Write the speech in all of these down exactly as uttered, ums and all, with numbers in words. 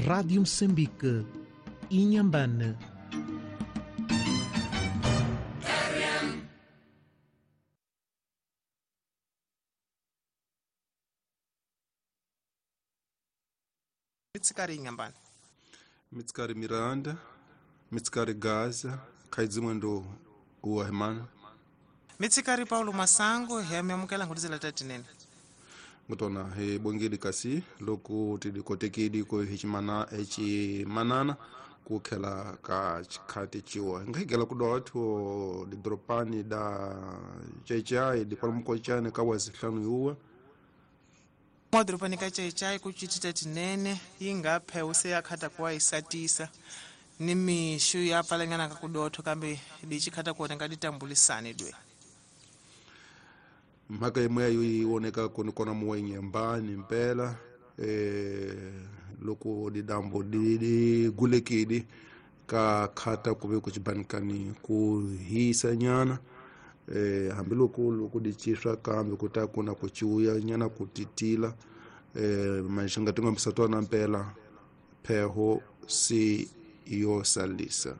Rádio Moçambique, Inhambane. Mitsikari Inhambane. Mitsikari Miranda, Mitsikari Gaza, Kaidzimwendo uwahemana. Mitsikari Paulo Masango, hiyamemukela ngudizela tatinene. Ngutona he bongeli kasi loko tidikotekidi ko hichimana echimanana kukhela ka chikhati chiwa ngaigela kudotho didropani da chechai dipalmukochane ka wazihlanu yuwa madropani ka chechai kuchitita tinene ingaphe useyakhata kuwa isatisa ni mishu yapalengana ka kudotho kambe dichikhata kuona ngaditambulisane dwe mhaka yimwe yayo yi koni kona muwenyembani mpela eh loko didambo di gulekidi ka khata kuve ku chibanikani ku hisa nyana eh hambiloko loko di chiswa kambe ku ta kuna ku chiuya nyana ku titila eh manxanga tingombisa tona mpela pheho si yo salisa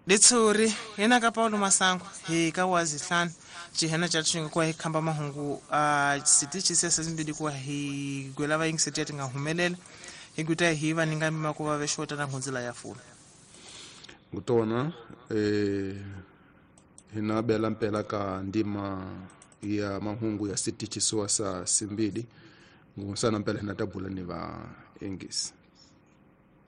Letsuri yena ka Paulo Masango hi ka wazihlanu chihena cha tshinga kwa hikhamba mahungu a sitichi sesa zimbili kwa hi gwela va yingiseti ya tinga humelela hi guta hi va ninga mima ku va vexota na ngunzila ya fula ngutona eh hina bela mpela ka ndima ya mahungu ya sitichi soa sa simbili ngusana mpela hina tabula ni va ingisi.